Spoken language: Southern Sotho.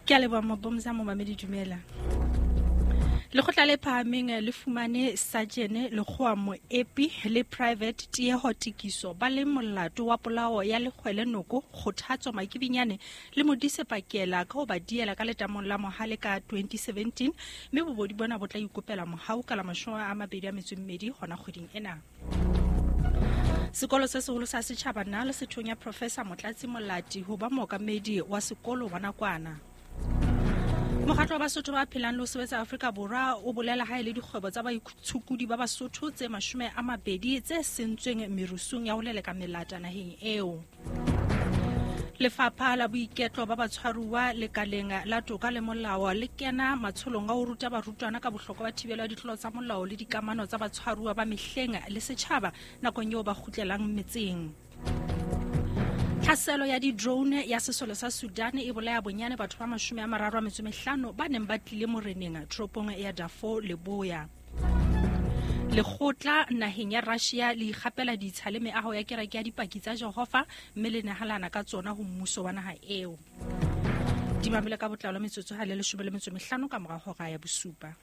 Ke a leboha Mabomza, momamedi dumela. Lekgotla le phahameng le fumane Sajene Lekgowa Moepi le Private Tieho Tikiso ba le molato wa polao ya Lekgwele Noko, Kgothatso Makibinyane le Modise Pakela ka ho ba diela ka letamong la Mohale ka 2017, mme bobodi bona bo tla ikopela mohau ka la 28 hona kgweding ena. Sekolo se seholo sa setjhaba na le sethonya Professor Motlatsi Molati ho ba mookamedi wa sekolo wa nakwana. Mokgatlo wa Basotho ba phelang le ho sebetsa Afrika Borwa o bolela ha e le dikgwebo tsa baitshokodi ba Basotho tse 20 tse sentsweng merusung ya ho leleka melata naheng eo. Lefapha la boiketlo ba batshwaruwa lekaleng la toka le molao le kena matsholong a ho ruta barutwana ka bohlokwa ba thibelo ya ditlolo tsa molao le dikamano tsa batshwaruwa ba mehleng le setjhaba nakong eo ba kgutlelang metseng. Tlhaselo ya di-drone ya sesole sa Sudan e bolaya bonyane batho ba 35 ba neng ba tlile moreneng toropong ya Darfur Leboya. Lekgotla naheng ya Russia le ikgapela ditsha le meaho ya kereke ya Dipaki tsa Jehova mme le nehalana ka tsona ho mmuso wa naha eo. Di mamele ka botlalo metsotso ha le 15 ka mora hora ya bosupa.